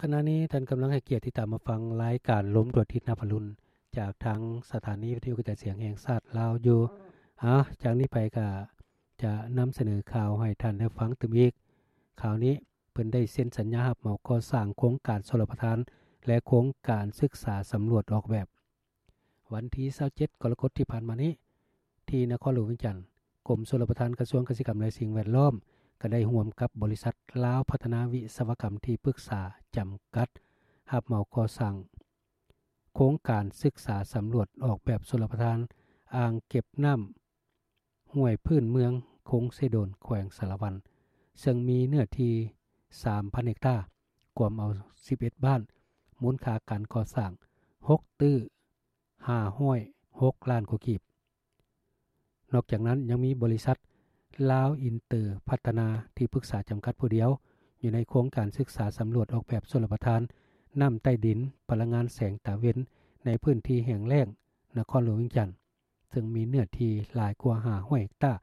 ຂະນະນີ້ທ່ານກຳລັງໃຫ້ກຽດຕິດຕາມມາຟັງລາຍການລົມດວງອາທິດນະພາລຸນ ຈາກທາງສະຖານີວິທະຍຸກະຈາຍສຽງແຫ່ງຊາດລາວຢູ່. ອາ ຈາກນີ້ໄປກະຈະນຳສະເໜີຂ່າວໃຫ້ທ່ານໄດ້ຟັງຕື່ມອີກ. ຂ່າວນີ້ ເພິ່ນໄດ້ເຊັນສັນຍາຮັບເໝົາກໍ່ສ້າງໂຄງການຊົນລະປະທານ ແລະ ໂຄງການສຶກສາສຳຫຼວດອອກແບບ. ວັນທີຊາວເຈັດ ກໍລະກົດທີ່ຜ່ານມານີ້ ທີ່ນະຄອນຫຼວງວຽງຈັນ, ກົມຊົນລະປະທານ ກະຊວງກະສິກຳ ແລະ ສິ່ງແວດລ້ອມ ກໍໄດ້ຮ່ວມກັບບໍລິສັດລາວພັດທະນາວິສະວະກຳທີ່ປຶກສາຈຳກັດ ຮັບເໝົາກໍ່ສ້າງໂຄງການສຶກສາສຳຫຼວດອອກແບບຊົນລະປະທານອ່າງເກັບນ້ຳ ຫ້ວຍພື້ນເມືອງຄົງເຊໂດນ ແຂວງສາລະວັນ ເຊິ່ງມີເນື້ອທີ່ສາມພັນເຮັກຕາ ກວມເອົາສິບເອັດບ້ານ, ມູນຄ່າການກໍ່ສ້າງຫົກຕື້ຫ້າຮ້ອຍຫົກລ້ານກວ່າກີບ. ນອກຈາກນັ້ນຍັງມີບໍລິສັດລາວອິນເຕີພັດທະນາທີ່ປຶກສາຈຳກັດຜູ້ດຽວ ຢູ່ໃນໂຄງການສຶກສາສຳຫຼວດອອກແບບຊົນລະປະທານ ນ້ຳໃຕ້ດິນ, ພະລັງງານແສງຕາເວັນ ໃນພື້ນທີ່ແຫ້ງແລ້ງ ນະຄອນຫຼວງວຽງຈັນ. ເຊິ່ງມີເນື້ອທີ່ຫຼາຍກວ່າຫ້າຮ້ອຍເຮັກຕາ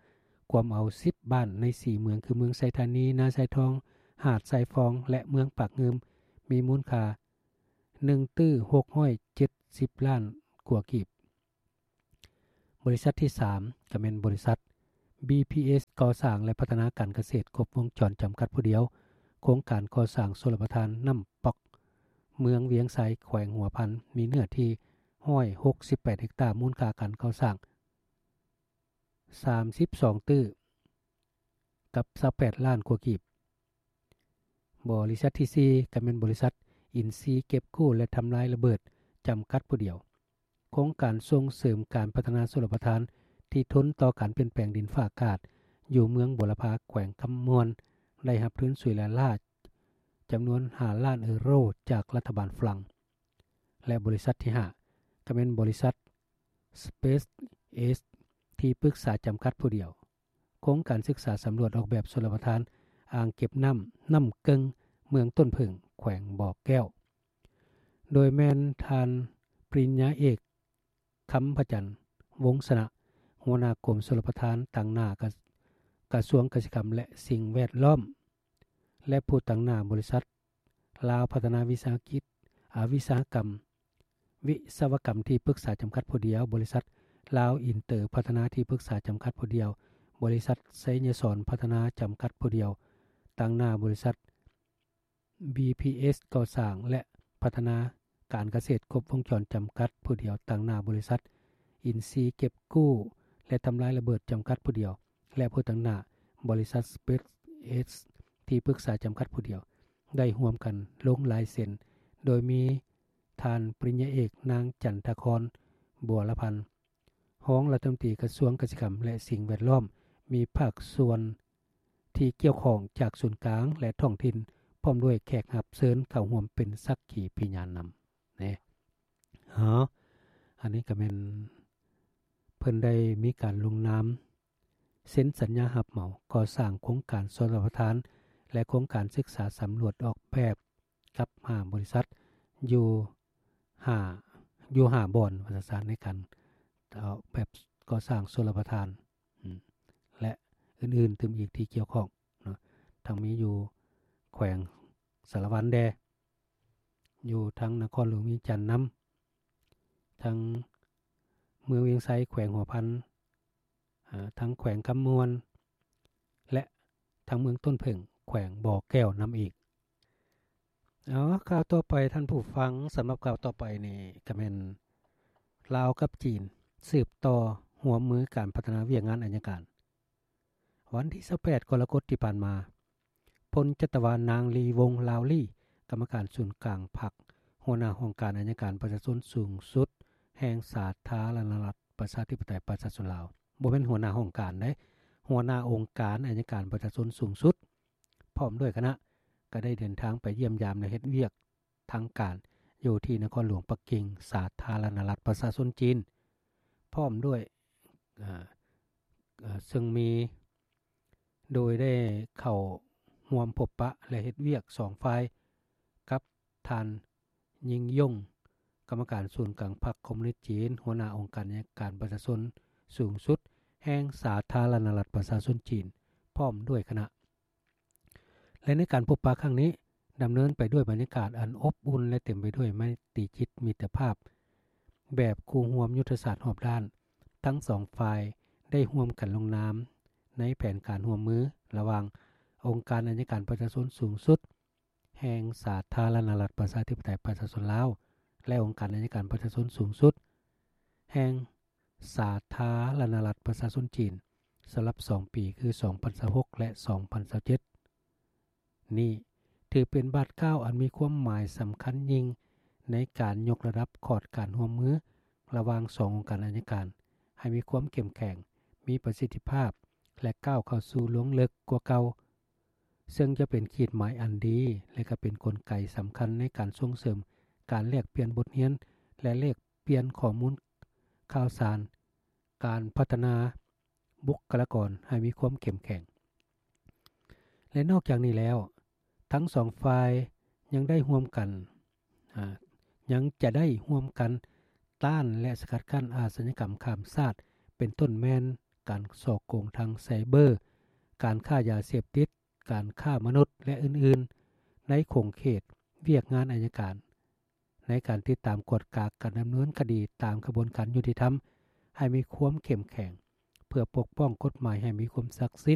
ກວມເອົາສິບບ້ານໃນສີ່ເມືອງ ຄືເມືອງໄຊທານີ, ນາຊາຍທອງ, ຫາດຊາຍຟອງ ແລະ ເມືອງປາກງື່ມ ມີມູນຄ່າໜຶ່ງຕື້ຫົກຮ້ອຍເຈັດສິບລ້ານກວ່າກີບ. ບໍລິສັດທີສາມ ກໍແມ່ນບໍລິສັດ ບີພີເອັສ ກໍ່ສ້າງ ແລະ ພັດທະນາການກະເສດຄົບວົງຈອນຈຳກັດຜູ້ດຽວ, ໂຄງການກໍ່ສ້າງຊົນລະປະທານນ້ຳປອກ ເມືອງວຽງໄຊ ແຂວງຫົວພັນ ມີເນື້ອທີ່ຮ້ອຍຫົກສິບແປດເຮັກຕາ, ມູນຄ່າການກໍ່ສ້າງສາມສິບສອງຕື້ກັບຊາວແປດລ້ານກວ່າກີບ. ບໍລິສັດທີສີ່ ກໍແມ່ນບໍລິສັດອິນຊີເກັບກູ້ ແລະ ທຳລາຍລະເບີດ ຈຳກັດຜູ້ດຽວ. ໂຄງການສົ່ງເສີມການພັດທະນາຊົນລະປະທານທີ່ທົນຕໍ່ການປ່ຽນແປງດິນຟ້າອາກາດ ຢູ່ເມືອງບົວລະພາ ແຂວງຄຳມ່ວນ ໄດ້ຮັບທຶນຊ່ວຍເຫຼືອລ້າຈຳນວນຫ້າລ້ານເອີໂຣ ຈາກລັດຖະບານຝຣັ່ງ ແລະ ບໍລິສັດທີຫ້າ ກໍແມ່ນບໍລິສັດ ສະເປສເອັສ ທີ່ປຶກສາຈຳກັດຜູ້ດຽວ. ໂຄງການສຶກສາສຳຫຼວດອອກແບບຊົນລະປະທານອ່າງເກັບນ້ຳນ້ຳເກິ່ງ ເມືອງຕົ້ນເຜິ້ງ ແຂວງບໍ່ແກ້ວ ໂດຍແມ່ນທ່ານປະລິນຍາເອກ ຄຳພະຈັນ ວົງຊະນະ ຫົວໜ້າກົມຊົນລະປະທານ ຕາງໜ້າກະ ກະຊວງກະສິກຳ ແລະ ສິ່ງແວດລ້ອມ ແລະ ຜູ້ຕາງໜ້າບໍລິສັດ ລາວພັດທະນາວິສາຫະກິດ ອາ ວິສາຫະກຳ ວິສະວະກຳທີ່ປຶກສາຈຳກັດຜູ້ດຽວ, ບໍລິສັດລາວອິນເຕີພັດທະນາທີ່ປຶກສາຈຳກັດຜູ້ດຽວ, ບໍລິສັດໄຊຍະສອນພັດທະນາຈຳກັດຜູ້ດຽວ, ຕາງໜ້າບໍລິສັດ ບີພີເອັສ ກໍ່ສ້າງ ແລະ ພັດທະນາການກະເສດຄົບວົງຈອນຈຳກັດຜູ້ດຽວ, ຕາງໜ້າບໍລິສັດອິນຊີເກັບກູ້ ແລະ ທຳລາຍລະເບີດຈຳກັດຜູ້ດຽວ ແລະ ຜູ້ຕາງໜ້າບໍລິສັດ ສະເປສເອັສ ທີ່ປຶກສາຈຳກັດຜູ້ດຽວ ໄດ້ຮ່ວມກັນລົງລາຍເຊັນ ໂດຍມີທ່ານປະລິນຍາເອກ ນາງ ຈັນທະຄອນ ບົວລະພັນ ຮອງລັດຖະມົນຕີກະຊວງກະສິກຳ ແລະ ສິ່ງແວດລ້ອມ, ມີພາກສ່ວນທີ່ກ່ຽວຂ້ອງຈາກສູນກາງ ແລະ ທ້ອງຖິ່ນ ພ້ອມດ້ວຍແຂກຮັບເຊີນເຂົ້າຮ່ວມເປັນສັກຂີພິຍານນຳ. ນີ້ ເອົາ ອັນນີ້ກໍແມ່ນເພິ່ນໄດ້ມີການລົງນາມເຊັນສັນຍາຮັບເໝົາກໍ່ສ້າງໂຄງການຊົນລະປະທານ ແລະ ໂຄງການສຶກສາສຳຫຼວດອອກແບບກັບຫ້າບໍລິສັດ ຢູ່ຫ້າ ຢູ່ຫ້າບ່ອນ ວ່າຊັ້ນ ໃນການອອກແບບກໍ່ສ້າງຊົນລະປະທານ ອາ ແລະ ອື່ນໆຕື່ມອີກທີ່ກ່ຽວຂ້ອງເນາະ ທັງມີຢູ່ແຂວງສາລະວັນແດ່ ຢູ່ທາງນະຄອນຫຼວງວຽງຈັນນຳ ທາງເມືອງວຽງໄຊ ແຂວງຫົວພັນ ເອີ ທາງແຂວງຄຳມ່ວນ ແລະ ທາງເມືອງຕົ້ນເຜິ້ງ ແຂວງບໍ່ແກ້ວນຳອີກ. ເອົາ ຂ່າວຕໍ່ໄປທ່ານຜູ້ຟັງ, ສຳລັບຂ່າວຕໍ່ໄປນີ້ກໍແມ່ນລາວກັບຈີນສືບຕໍ່ຮ່ວມມືການພັດທະນາວຽກງານໄອຍະການ. ວັນທີຊາວແປດ ກໍລະກົດທີ່ຜ່ານມາ, ພົນຈັດຕະວານາງ ລີ ວົງ ລາວລີ ກຳມະການສູນກາງພັກ, ຫົວໜ້າຫ້ອງການໄອຍະການປະຊາຊົນສູງສຸດແຫ່ງສາທາລະນະລັດ ປະຊາທິປະໄຕ ປະຊາຊົນລາວ, ບໍ່ແມ່ນຫົວໜ້າຫ້ອງການເດ້, ຫົວໜ້າອົງການໄອຍະການປະຊາຊົນສູງສຸດ ພ້ອມດ້ວຍຄະນະ ກໍໄດ້ເດີນທາງໄປຢ້ຽມຢາມ ແລະ ເຮັດວຽກທາງການຢູ່ທີ່ນະຄອນຫຼວງປັກກິ່ງ ສາທາລະນະລັດປະຊາຊົນຈີນ ພ້ອມດ້ວຍ ເອີ ເຊິ່ງມີ ໂດຍໄດ້ເຂົ້າຮ່ວມພົບປະ ແລະ ເຮັດວຽກສອງຝ່າຍກັບທ່ານ ຍິງຢົງ ກຳມະການສູນກາງພັກຄອມມູນິດຈີນ, ຫົວໜ້າອົງການໄອຍະການປະຊາຊົນສູງສຸດແຫ່ງສາທາລະນະລັດປະຊາຊົນຈີນ ພ້ອມດ້ວຍຄະນະ. ແລະ ໃນການພົບປະຄັ້ງນີ້ ດຳເນີນໄປດ້ວຍບັນຍາກາດອັນອົບອຸ່ນ ແລະ ເຕັມໄປດ້ວຍໄມຕີຈິດມິດຕະພາບ ແບບຄູ່ຮ່ວມຍຸດທະສາດຮອບດ້ານ. ທັງສອງຝ່າຍໄດ້ຮ່ວມກັນລົງນາມໃນແຜນການຮ່ວມມືລະຫວ່າງອົງການໄອຍະການປະຊາຊົນສູງສຸດແຫ່ງສາທາລະນະລັດປະຊາທິປະໄຕປະຊາຊົນລາວ ແລະ ອົງການໄອຍະການປະຊາຊົນສູງສຸດແຫ່ງສາທາລະນະລັດປະຊາຊົນຈີນ ສຳລັບສອງປີ ຄື ສອງພັນຊາວຫົກ ແລະ ສອງພັນຊາວເຈັດ. ນີ້ຖືເປັນບາດກ້າວອັນມີຄວາມໝາຍສຳຄັນຍິ່ງໃນການຍົກລະດັບຂອດການຮ່ວມມືລະຫວ່າງສອງອົງການໄອຍະການໃຫ້ມີຄວາມເຂັ້ມແຂງ, ມີປະສິດທິພາບ ແລະ ກ້າວເຂົ້າສູ່ລວງເລິກກວ່າເກົ່າ, ເຊິ່ງຈະເປັນຂີດໝາຍອັນດີ ແລະ ກໍເປັນກົນໄກສຳຄັນໃນການສົ່ງເສີມການແລກປ່ຽນບົດຮຽນ ແລະ ແລກປ່ຽນຂໍ້ມູນຂ່າວສານ, ການພັດທະນາບຸກຄະລາກອນໃຫ້ມີຄວາມເຂັ້ມແຂງ. ແລະ ນອກຈາກນີ້ແລ້ວ, ທັງສອງຝ່າຍຍັງໄດ້ຮ່ວມກັນ, ອາ, ຍັງຈະໄດ້ຮ່ວມກັນຕ້ານ ແລະ ສະກັດກັ້ນອາຊະຍາກຳຂ້າມຊາດ, ເປັນຕົ້ນແມ່ນການສໍ້ໂກງທາງໄຊເບີ, ການຄ້າຢາເສບຕິດ, ການຄ້າມະນຸດ ແລະ ອື່ນໆ ໃນຂົງເຂດວຽກງານໄອຍະການ. ໃນການຕິດຕາມກວດກາການດຳເນີນຄະດີຕາມຂະບວນການຍຸຕິທຳໃຫ້ມີຄວາມເຂັ້ມແຂງ, ເພື່ອປົກປ້ອງກົດໝາຍໃຫ້ມີຄວາມສັກສິດ